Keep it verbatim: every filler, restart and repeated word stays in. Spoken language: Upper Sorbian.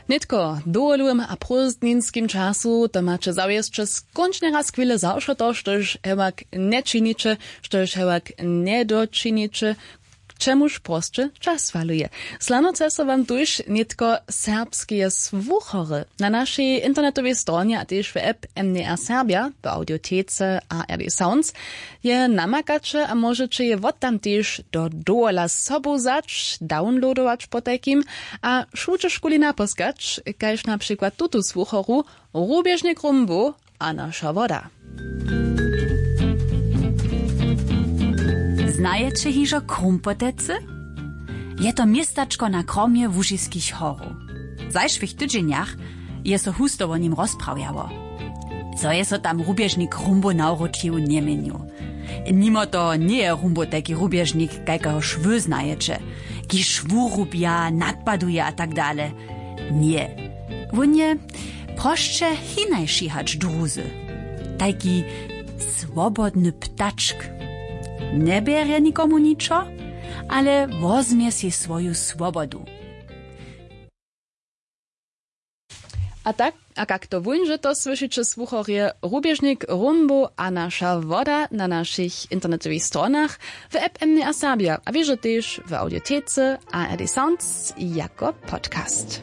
Nětko w dowolowym a prózdninskim času to maće zawěsće skónčnje raz chwile zawšo to, štož hewak nječiniće, štož hewak njedočiniće, k čemuž prosće čas faluje. Slanoce so wam tuž nětko serbskeje słuchory na našej internetowej stronje a tež w app M D R Serbia w audiotece A R D Sounds je namakaće a móžeće je wot tam tež do dowola sobu wzać, downloadować potajkim a wšudźe škuli napóskać, kaž na přikład tutu słuchoru, Rubježnik Rumbow a naša woda. Znajeće hižo Krumpotecy? Je to městačko na kromje Łužiskich horow. W zašłych tydźenjach je so husto wo nim rozprawjało. Zo je so tam Rubježnik Rumbow nawróčił, njeměnił. Nimo toho njeje Rumbow tajki rubježnik, kajkahož wy znajeće, kiž wurubja, nadpaduje a tak dale. Ně. Wón je prosće hinaši hač druzy. Tajki swobodny ptačk. Njebjerje nikomu ničo, ale wozmje sej swoju swobodu. A tak, a kak to wón, že to słyšiće, słuchorje, Rubježnik Rumbow a naša woda na našich internetowych stronach, w app M D R Serbia a wěže tež w audiotece A R D Sounds jako podcast.